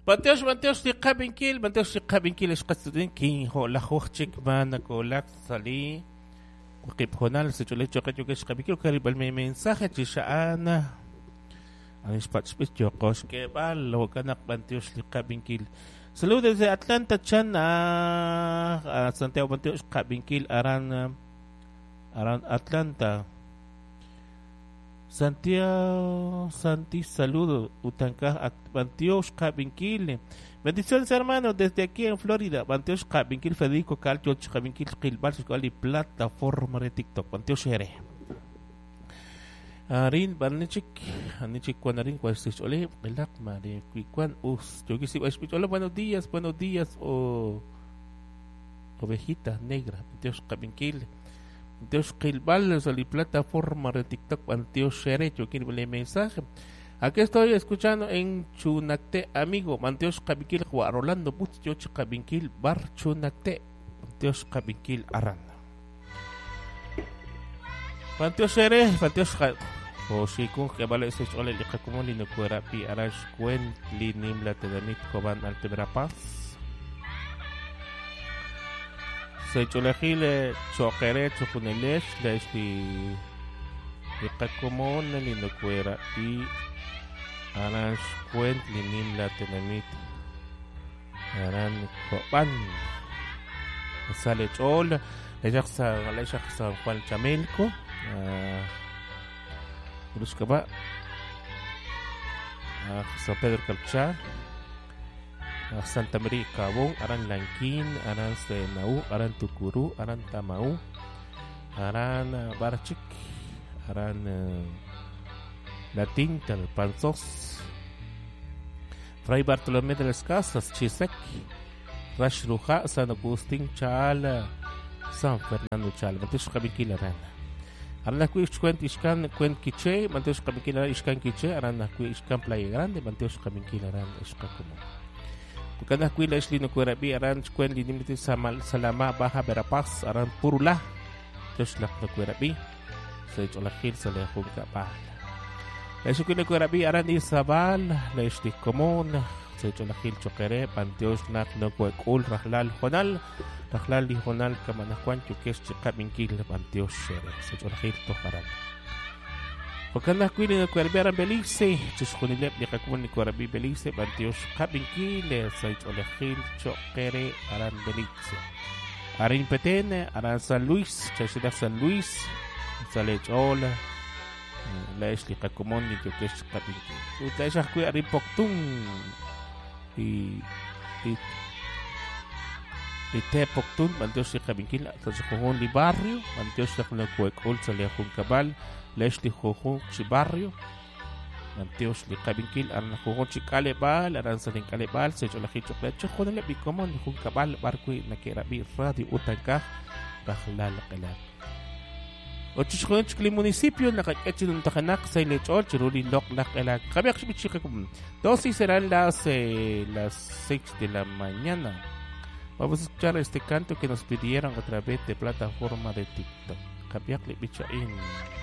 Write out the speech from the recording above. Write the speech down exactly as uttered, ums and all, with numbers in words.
B'antiox, b'antiox li qab'inkil, b'antiox li qab'inkil xqatzudin kin jo lajuj chik ma nakolak sali waqib' jonal sech'olej choqe yokex qab'inkil karib'al me mensaje chi xa'ana anix pach'b'ich yoqox k'eb'al jo'kan naq b'antiox li qab'inkil. Saludos desde Atlanta chan a Santiago b'antiox qab'inkil aran aran Atlanta. Santiago, Santi, saludo, Utancaj, Bantiox, Cabinquil. Bendiciones, hermano, desde aquí en Florida. Bantiox, Cabinquil, Federico Calcho, Cabinquil, Gilbar, y plataforma de TikTok. Bantiox, Ere. Arin, Barnichik, Anichik, Cuanarín, Cuastich, Ole, Belak, Mari, Cuicuan, Us, Yogisi, Hola, buenos días, buenos días, o ovejita negra, Bantiox, Cabinquil. Dios Gilbal, la plataforma de TikTok, Antioch Sherecho, quiere el mensaje. Aquí estoy escuchando en Chunacte, amigo, Antioch Cabinquil, Juan Rolando Putz, Yoch Cabinquil, Bar Chunacte, Antioch Cabinquil, Aranda. Antioch Shere, Antioch Oshikun, que vale ese chole, Licakumoli, no cuera, pi, Arash, Cuen, Linim, la Tedamit, Coban, Altebrapaz. Seycholejil choqere choqunelex lex li liqakomon linokuera y aran xcuent linim la tenamit aran koban sale chol lexaq San lexaq San Juan Chamelco Ruskaba San Pedro Calchá Santa María Cabón, Aran Lanquín, Aran Senaú, Aran Tucurú, Aran Tamaú, Aran Barchik, Aran La Tinta, Panzós, Fray Bartolomé de las Casas, Chisec, Rash Ruja, San Agustín, Chala, San Fernando Chala, Mantesh Kabinkil Arana. Aran Kuishkuent Ishkan Kuent Quiché, Mantesh Kabinkil Aran Ishkan Quiché, Aran Ishkan Playa Grande, Mantesh Kabinkil Aran Ishkakumo. Kada kuila isli no kuerabi aran chkuen linimiti samal salama baja verapaz aran purula toshlak no kuerabi se cholajil se le junta bal la shukule kuerabi aran isabal la ishti común se cholajil choquere panteos nak no kuekul rajlal jonal rajlal li jonal kamanajuan chukesh chikabinkil panteos shere se cholajil tojaran Wakana kuili na kuerabi aran Belice, chishkunilep li kakun ni kuerabi Belice, bantiosh kabinkile, saich olejil chokere aran Belice. Arin Petene, aran San Luis, chashila San Luis, salech ola, la esli kakumon ni yokesh kabinkil. Utla eshah kui arin Poktun, y y y te Poktun, bantiosh li kabinkil, tachujun li barrio, bantiosh li kuekul, salejun kabal, Leslie Jojón Chibarrio, Manteos Licabinkil, Aran Jojón Chicalebal, Aran Salin Calebal, Secholaji Chocolate, Chojonele Bicomón, Juncabal, Barqui, Nakerabi, Radio Utancaj, Rajlal Qelab. Ochichjon Chicli municipio, Nakachun Tajanak, Sailechol, Chiruli, Loc, Lak, Dos y serán las, eh, las seis de la mañana. Vamos a escuchar este canto que nos pidieron a través de plataforma de TikTok. Kabiakli Bichain.